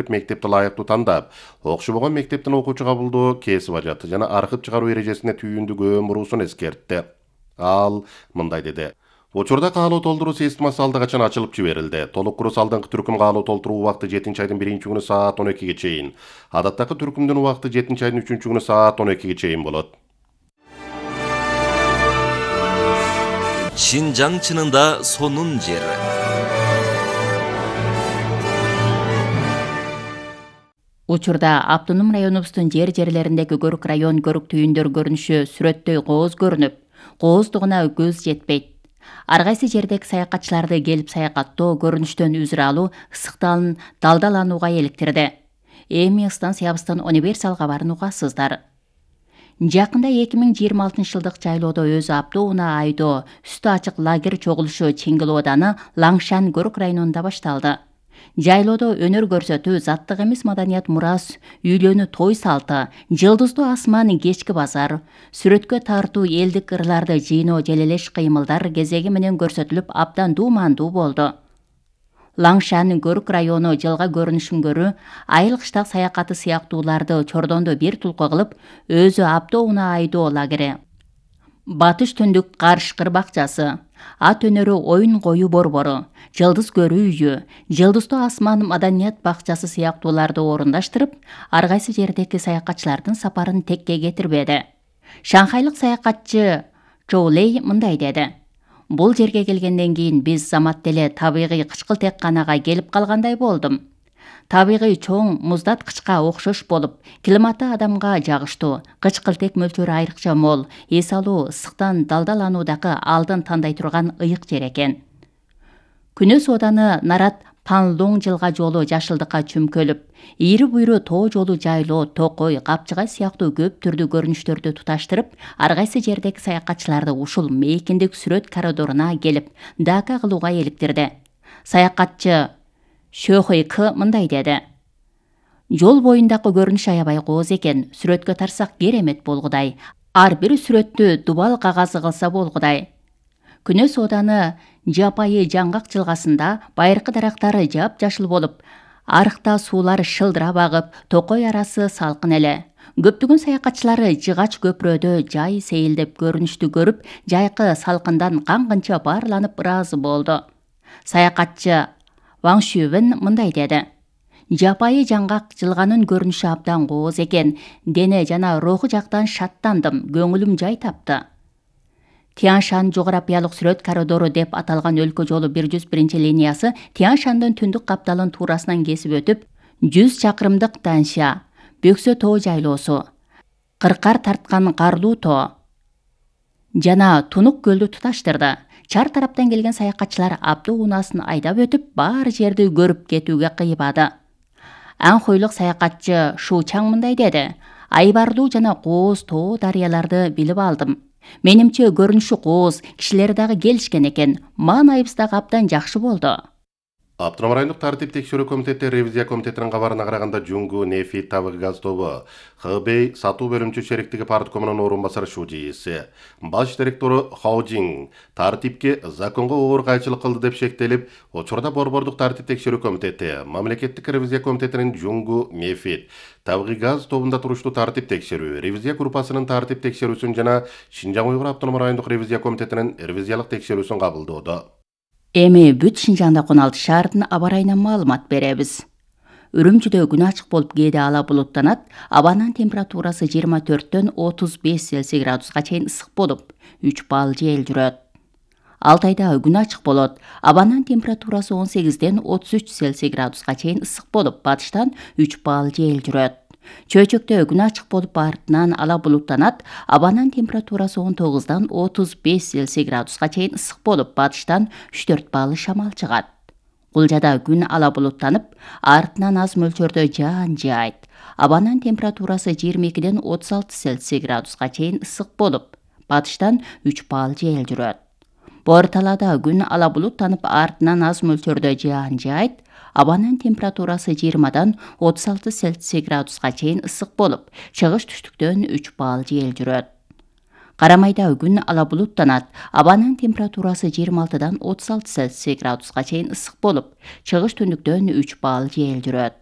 мектепти лайыктуу тандап, окшобогон мектептин окуучу кабылдоо кесип ажат жана аркып чыгаруу эрежесине түйүндүк өмүрүүсүн эскертти. Ал мындай деди. Учурда каалоо толтуруу системасы алда качан ачылып жиберилди. Толук курус алдыңкы түркүм каалоо толтуруу убакыты 7-айдын 1-күнү саат 12-ге чейин. Адаттагы түркүмдүн убакыты 7-айдын 3-күнү саат 12-ге чейин болот. Шинжаң чынында сонун жер. Учурда автоном районубуздун жерлериндеги көрүк район көрүк түйүндөр көрүнүшү сүрөттөй кооз көрүнүп, кооздугуна көз жетпейт. Ар кайсы жердеги саякатчыларды келип саякаттоо, көрүнүштөн үзүр алуу ысыктан далдаланууга иликтирди. Эми станциябыздын универсал кабарын угасыздар. Жакында 2026-жылдык жайлоодо өзү аптоо унаа айдоо үстү ачык лагерь чогулушу Чеңгел ооданы Лаңшан көрүк районунда башталды. Жайлоодо өнөр көрсөтүү, заттык эмес маданият мурас, үйлөнүү той салты, жылдыздуу асман кечки базар, сүрөткө тартуу элдик ырларды жыйноо желелеш кыймылдар кезеги менен көрсөтүлүп абдан дуумандуу болду. Лаңшан көрүк району жылга көрүнүшүнгөрү айыл кыштак саякаты сыяктууларды Чордонду бир тулку кылып, өзү аптоо унаа айдоо лагери, батыш түндүк карышкыр бакчасы, ат өнөрү оюн коюу борбору, жылдыз көрүү үйү, жылдыздуу асман маданият бакчасы сыяктууларды орундаштырып, ар кайсы жердеги саякатчылардын сапарын текке кетирбеди. Шанхайлык саякатчы Чоулей мындай деди. Бул жерге келгенден кийин биз замат деле табигый кычкылтекканага келип калгандай болдум. Табигый чоң муздаткычка окшош болуп, климаты адамга жагыштуу, кычкылтек мөлчөрү айрыкча мол, эс алуу, ысыктан далдалануудагы алдын тандай турган ыйык жер экен. Күнөс ооданы Нарат Панлоң жылга жолу жашылдыкка чүмкөлүп, ийри буйру тоо жолу жайлоо, токой, капчыгай сыяктуу көп түрдүү көрүнүштөрдү туташтырып, ар кайсы жердеги саякатчыларды ушул мейкиндик сүрөт коридоруна келип, дака кылууга иликтирди. Саякатчы Шөхөй К мындай деди. Жол боюндагы көрүнүш аябай кооз экен, сүрөткө тарсак керемет болгудай. Ар бир сүрөттү дубал кагазы кылса болгудай. Күнөс ооданы Жапайы жаңгак жылгасында байыркы дарактары жап-жашыл болуп, арыкта суулар шылдырап агып, токой арасы салкын эле. Көптөгөн саякатчылары Жыгач көпүрөдө жай сейилдеп көрүнүштү көрүп, жайкы салкындан кангынча баарланып ыраазы болду. Саякатчы Ваң Шүбен мындай деди. Жапайы жаңгак жылганын көрүнүшү абдан кооз экен, дене жана руху жактан шаттандым, көңүлүм жай тапты. Тяншан жогорапиялык сүрөт коридору деп аталган өлкө жолу 101 линиясы Тяншандын түндүк капталын туурасынан кесип өтүп, 100 чакырымдык Данша, Бөксө тоо жайлоосу, Кыркар тарткан Карлуу тоо жана Тунук көлдү туташтырды. Чар тараптан келген саякатчылар аптоо унаасын айдап өтүп, баар жерди көрүп кетүүгө кыйбады. Анхойлук саякатчы Шу Чаң мындай деди. Айбарлуу жана кооз тоо дарыяларды билип алдым. Менимче көрүнүшү кооз, кишилер дагы келишкен экен. Маанайыбыз дагы абдан жакшы болду. Автоном райондук тартип текшерүү комитети ревизия комитетинин кабарына караганда Жуңгу Нефит табыгы газ тобу ХБ сатуу бөлүмчү шериктиги парткомунун орун басары Шужииси, баш директору Хаужин тартипке законго оор кайчылык кылды деп шектелип, учурда борбордук тартип текшерүү комитети, мамлекеттик ревизия комитетинин Жуңгу Нефит табыгы газ тобунда туруштуу тартип текшерүү, ревизия группасынын тартип текшерүүсүн жана Шинжаң Уйгур автоном райондук ревизия комитетинин ревизиялык текшерүүсүн кабылдоодо. Эми бүт Шинжаңда 16 шаардын аба ырайынан маалымат беребиз. Үрүмчүдө күн ачык болуп кээде ала булуттанат, абанын температурасы 24-төн 35 Цельсий градуска чейин ысык болуп, 3 балл жел жүрөт. Алтайда күн ачык болот, абанын температурасы 18-ден 33 Цельсий градуска чейин ысык болуп, батыштан 3 балл жел жүрөт. Чөйчөктө күн ачык болуп, артынан ала булуттанат, абанын температурасы 19-дан 35 Цельсий градуска чейин ысык болуп, батыштан 3-4 балл шамал чыгат. Кулжада күн ала булуттанып, артынан аз мөлчөрдө жаан жаайт. Абанын температурасы 22-ден 36 Цельсий градуска чейин ысык болуп, батыштан 3 балл жел жүрөт. Борталада күн ала булуттанып, артынан аз мөлчөрдө жаан жаайт. Абанын температурасы 20-дан 36 Цельсий градуска чейин ысык болуп, чыгыш түштүктөн 3 балл жел жүрөт. Карамайда күн ала булуттанат, абанын температурасы 26-дан 36 Цельсий градуска чейин ысык болуп, чыгыш түндүктөн 3 балл жел жүрөт.